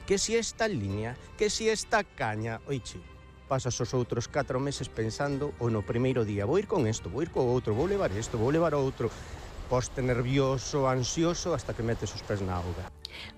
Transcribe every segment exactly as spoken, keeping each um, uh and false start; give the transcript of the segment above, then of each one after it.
que si esta línea, que si esta caña, oiche, pasas os outros catro meses pensando o no primeiro día, vou ir con isto, vou ir co outro, vou levar isto, vou levar outro, poste nervioso, ansioso, hasta que metes os pés na auga.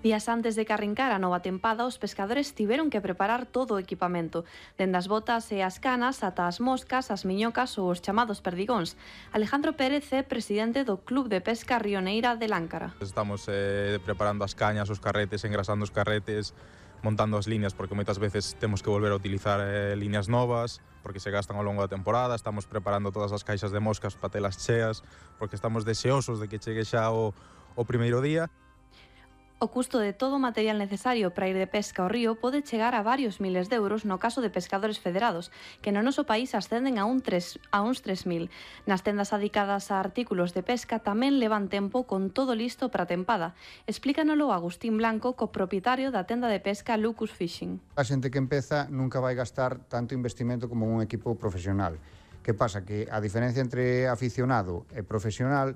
Días antes de que arrincara a nova tempada, os pescadores tiveron que preparar todo o equipamento, dende as botas e as canas ata as moscas, as miñocas ou os chamados perdigóns. Alejandro Pérez é presidente do Club de Pesca Rioneira de Láncara. Estamos eh, preparando as cañas, os carretes, engrasando os carretes, montando as líneas, porque moitas veces temos que volver a utilizar eh, líneas novas, porque se gastan ao longo da temporada. Estamos preparando todas as caixas de moscas para telas cheas, porque estamos deseosos de que chegue xa o, o primeiro día. O custo de todo o material necesario para ir de pesca ao río pode chegar a varios miles de euros no caso de pescadores federados, que no noso país ascenden a, un tres, a uns tres mil. Nas tendas adicadas a artículos de pesca tamén levan tempo con todo listo para a tempada. Explícanolo Agustín Blanco, copropietario da tenda de pesca Lucus Fishing. A xente que empeza nunca vai gastar tanto investimento como un equipo profesional. Que pasa? Que a diferencia entre aficionado e profesional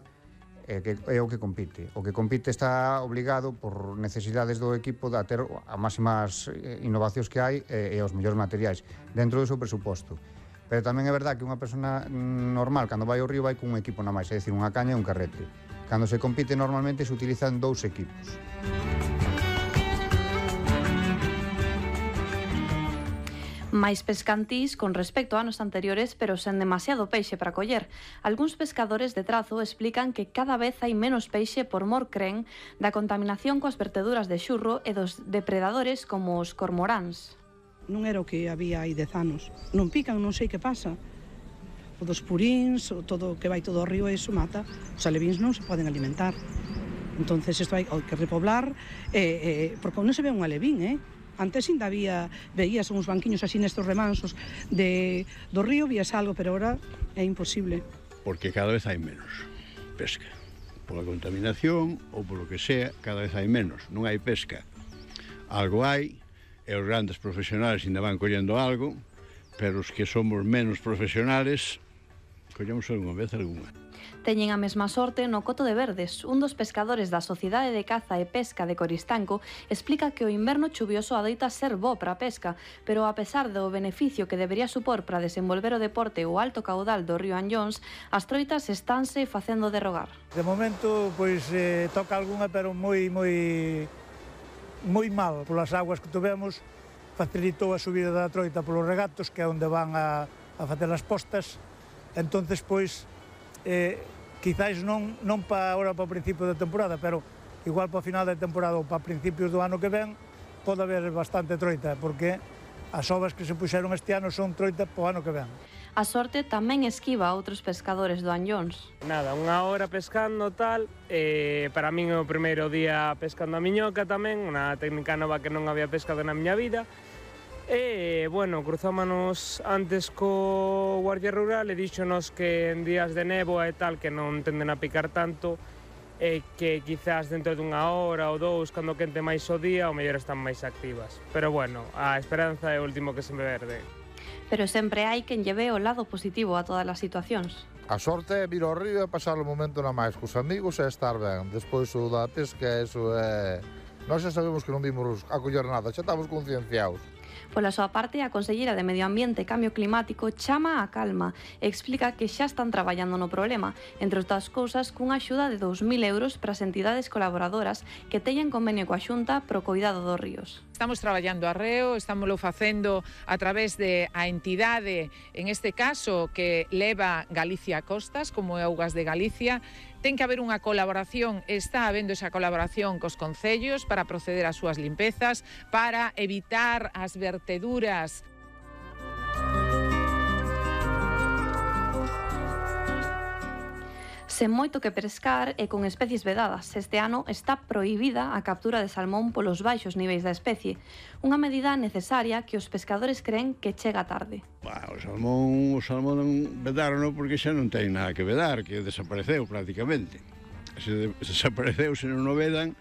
é, que, é o que compite. O que compite está obligado por necesidades do equipo a ter as máximas innovacións que hai e, e os mellores materiais dentro do seu presuposto. Pero tamén é verdad que unha persona normal, cando vai ao río, vai con un equipo na máis, é dicir, unha caña e un carrete. Cando se compite, normalmente se utilizan dous equipos. máis pescantís con respecto a anos anteriores, pero sen demasiado peixe para coller. Algúns pescadores de Trazo explican que cada vez hai menos peixe por mor, cren, da contaminación coas verteduras de xurro e dos depredadores como os cormoráns. Non era o que había hai dez anos. Non pican, non sei que pasa. O dos puríns, o todo que vai todo ao río, eso mata. Os alevíns non se poden alimentar. Entonces isto hai que repoblar, eh, eh, porque non se ve un alevín, eh? Antes ainda había, veías uns banquiños así nestos remansos de, do río, vías algo, pero ahora é imposible. Porque cada vez hai menos pesca. Pola contaminación ou polo que sea, cada vez hai menos. Non hai pesca. Algo hai, e os grandes profesionales ainda van collendo algo, pero os que somos menos profesionales, collemos algunha vez algunha. Teñen a mesma sorte no Coto de Verdes. Un dos pescadores da Sociedade de Caza e Pesca de Coristanco explica que o inverno chuvioso adoita ser bo para a pesca, pero a pesar do beneficio que debería supor para desenvolver o deporte o alto caudal do río Anllóns, as troitas estánse facendo derrogar. De momento, pois, eh, toca algunha, pero moi, moi, moi mal. Polas aguas que tuvemos, facilitou a subida da troita polos regatos, que é onde van a, a facer as postas. Entonces, pois, eh, quizás non, non para agora para o principio da temporada, pero igual para o final da temporada ou para principios do ano que ven pode haber bastante troita, porque as ovas que se puxeron este ano son troita para o ano que ven. A sorte tamén esquiva a outros pescadores do Anllóns. Nada, unha hora pescando tal, e para min é o primeiro día pescando a miñoca tamén, unha técnica nova que non había pescado na miña vida. E, bueno, cruzámonos antes co Guardia Rural e díxonos que en días de néboa e tal que non tenden a picar tanto e que quizás dentro dunha hora ou dous, cando quente máis o día, o mellor están máis activas. Pero, bueno, a esperanza é o último que se me verde. Pero sempre hai quen lle ve o lado positivo a todas as situacións. A sorte é vir ao río e pasar o momento na máis cos amigos e estar ben. Despois o da pesca, eso é... Nós xa sabemos que non vimos a coller nada, xa estamos concienciados. Pola súa parte, a conselleira de Medio Ambiente e Cambio Climático chama a calma e explica que xa están traballando no problema, entre outras cousas cunha axuda de dous mil euros para as entidades colaboradoras que teñen convenio coa Xunta pro cuidado dos ríos. Estamos traballando arreo, estámoslo facendo a través de a entidade, en este caso, que leva Galicia a Costas, como é Augas de Galicia. Ten que haber unha colaboración, está habendo esa colaboración cos concellos para proceder ás súas limpezas, para evitar as verteduras. Sen moito que pescar e con especies vedadas, este ano está prohibida a captura de salmón polos baixos niveis da especie, unha medida necesaria que os pescadores creen que chega tarde. Bah, o salmón, o salmón vedaron porque xa non ten nada que vedar, que desapareceu prácticamente. Se desapareceu, se non o vedan,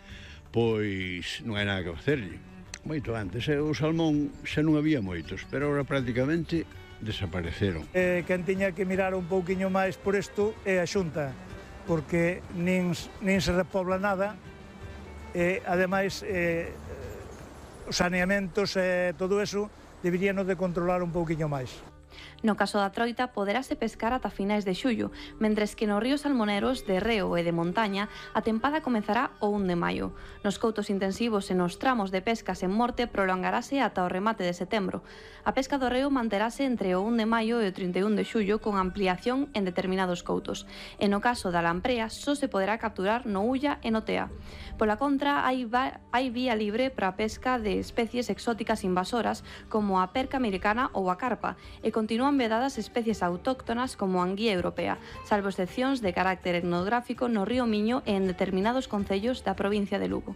pois non hai nada que facerlle. Moito antes, o salmón xa non había moitos, pero agora prácticamente desapareceron. Eh, quen tiña que mirar un pouquiño máis por isto é a Xunta, porque nin, nin se repobla nada e, ademais, eh, os saneamentos e todo eso deberían de controlar un pouquiño máis. No caso da troita, poderase pescar ata finais de xullo, mentres que nos ríos salmoneros de reo e de montaña a tempada comezará o un de maio. Nos coutos intensivos e nos tramos de pescas en morte prolongarase ata o remate de setembro. A pesca do reo manterase entre o un de maio e o trinta e un de xullo con ampliación en determinados coutos. E no caso da lamprea, só se poderá capturar no Ulla e no Tea. Pola contra, hai, hai vía libre para a pesca de especies exóticas invasoras como a perca americana ou a carpa, e continúan vedadas especies autóctonas como a anguía europea, salvo excepcións de carácter etnográfico no río Miño e en determinados concellos da provincia de Lugo.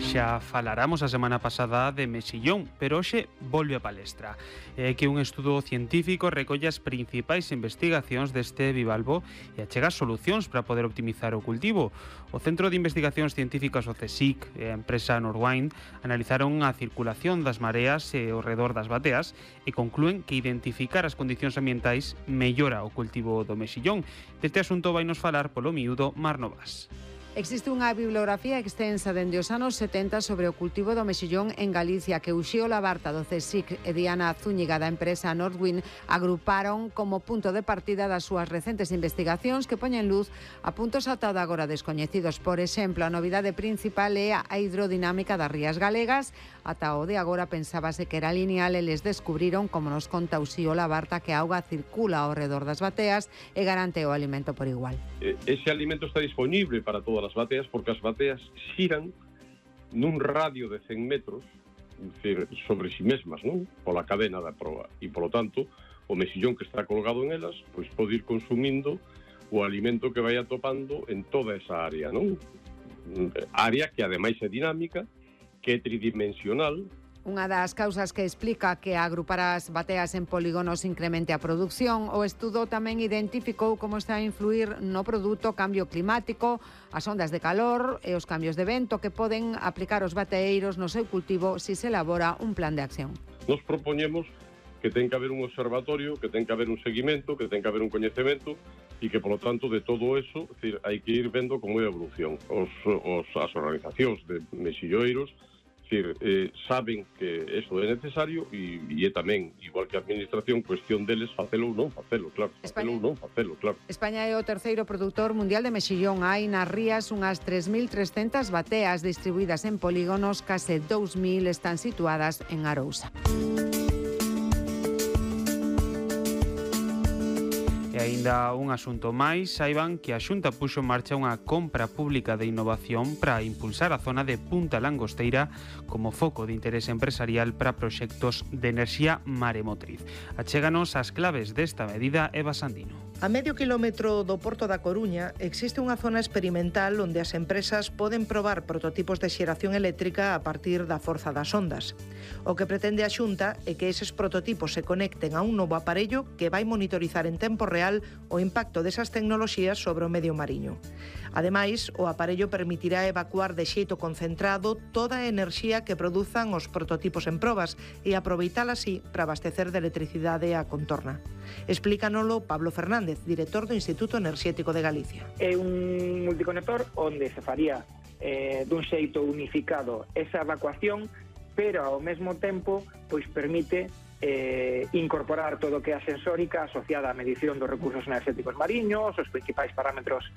Xa falaramos a semana pasada de mexillón, pero hoxe volve a palestra. É que un estudo científico recolle as principais investigacións deste bivalvo e achega solucións para poder optimizar o cultivo. O Centro de Investigacións Científicas, o CSIC, e a empresa Norwind analizaron a circulación das mareas e ao redor das bateas e conclúen que identificar as condicións ambientais mellora o cultivo do mexillón. Deste asunto vai nos falar polo miúdo Mar Novas. Existe unha bibliografía extensa dende os anos setenta sobre o cultivo do mexillón en Galicia que Uxío Labarta do CSIC e Diana Zúñiga da empresa Norwind agruparon como punto de partida das súas recentes investigacións que poñen luz a puntos ata de agora descoñecidos. Por exemplo, a novidade principal é a hidrodinámica das rías galegas. Ata o de agora pensábase que era lineal e les descubriron, como nos conta Uxío Labarta, que a auga circula ao redor das bateas e garante o alimento por igual. Ese alimento está disponible para todas as bateas porque as bateas xiran nun radio de cen metros, decir, sobre si mesmas, non? Pola cadena da proa. E, polo tanto, o mexillón que está colgado en elas, pois pode ir consumindo o alimento que vai atopando en toda esa área, non? Área que, ademais, é dinámica, que é tridimensional. Unha das causas que explica que agrupar as bateas en polígonos incremente a produción, o estudo tamén identificou como está a influir no produto o cambio climático, as ondas de calor e os cambios de vento que poden aplicar os bateeiros no seu cultivo se se elabora un plan de acción. Nos propoñemos que ten que haber un observatorio, que ten que haber un seguimento, que ten que haber un coñecemento e que, polo tanto, de todo eso, decir, hai que ir vendo como é a evolución. Os, os, as organizacións de mexilloeiros decir, eh, saben que eso é necesario e, e é tamén, igual que a administración, cuestión deles facelo ou non facelo, claro. Facelo ou non facelo, claro. España é o terceiro produtor mundial de mexillón. Hai nas rías unhas tres mil trescentas bateas distribuídas en polígonos, case dous mil están situadas en Arousa. E aínda un asunto máis, saiban que a Xunta puxo en marcha unha compra pública de innovación para impulsar a zona de Punta Langosteira como foco de interés empresarial para proxectos de enerxía maremotriz. Achéganos as claves desta medida Eva Sandino. A medio kilómetro do Porto da Coruña existe unha zona experimental onde as empresas poden probar prototipos de xeración eléctrica a partir da forza das ondas. O que pretende a Xunta é que eses prototipos se conecten a un novo aparello que vai monitorizar en tempo real o impacto desas tecnoloxías sobre o medio mariño. Ademais, o aparello permitirá evacuar de xeito concentrado toda a enerxía que produzan os prototipos en probas e aproveitala así para abastecer de electricidade a contorna. Explícanolo Pablo Fernández, director do Instituto Enerxético de Galicia. É un multiconector onde se faría eh, dun xeito unificado esa evacuación, pero ao mesmo tempo pois permite eh, incorporar todo o que é a sensórica asociada á medición dos recursos enerxéticos mariños, os principais parámetros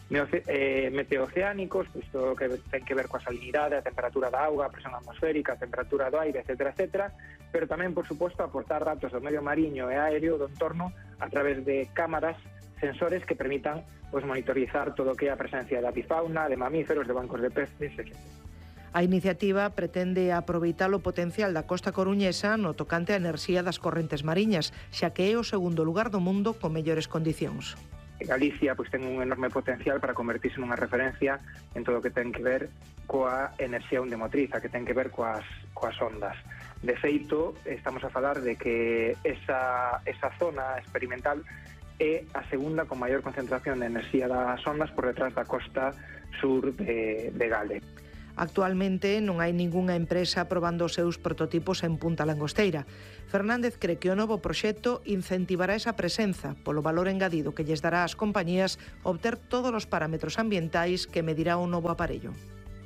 eh, meteoceánicos, pois todo o que ten que ver coa salinidade, a temperatura da auga, a presión atmosférica, a temperatura do aire, etcétera, etcétera, pero tamén, por suposto, aportar datos do medio mariño e aéreo do entorno a través de cámaras, sensores que permitan pois, monitorizar todo o que é a presencia de avifauna, de mamíferos, de bancos de peces, etcétera. A iniciativa pretende aproveitar o potencial da costa coruñesa no tocante á enerxía das correntes mariñas, xa que é o segundo lugar do mundo con mellores condicións. Galicia pois, ten un enorme potencial para convertirse nunha referencia en todo o que ten que ver coa enerxía ondemotriz, a que ten que ver coas, coas ondas. De feito, estamos a falar de que esa, esa zona experimental é a segunda con maior concentración de enerxía das ondas por detrás da costa sur de, de Gale. Actualmente non hai ningunha empresa probando os seus prototipos en Punta Langosteira. Fernández cree que o novo proxecto incentivará esa presenza polo valor engadido que lles dará ás compañías obter todos os parámetros ambientais que medirá o novo aparello.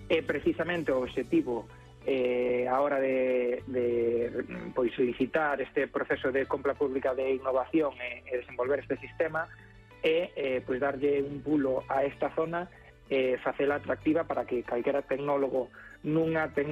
É precisamente o objetivo eh, a hora de, de pois, solicitar este proceso de compra pública de innovación e, e desenvolver este sistema é eh, pois, darlle un pulo a esta zona e facela atractiva para que calquera tecnólogo nunha tecnología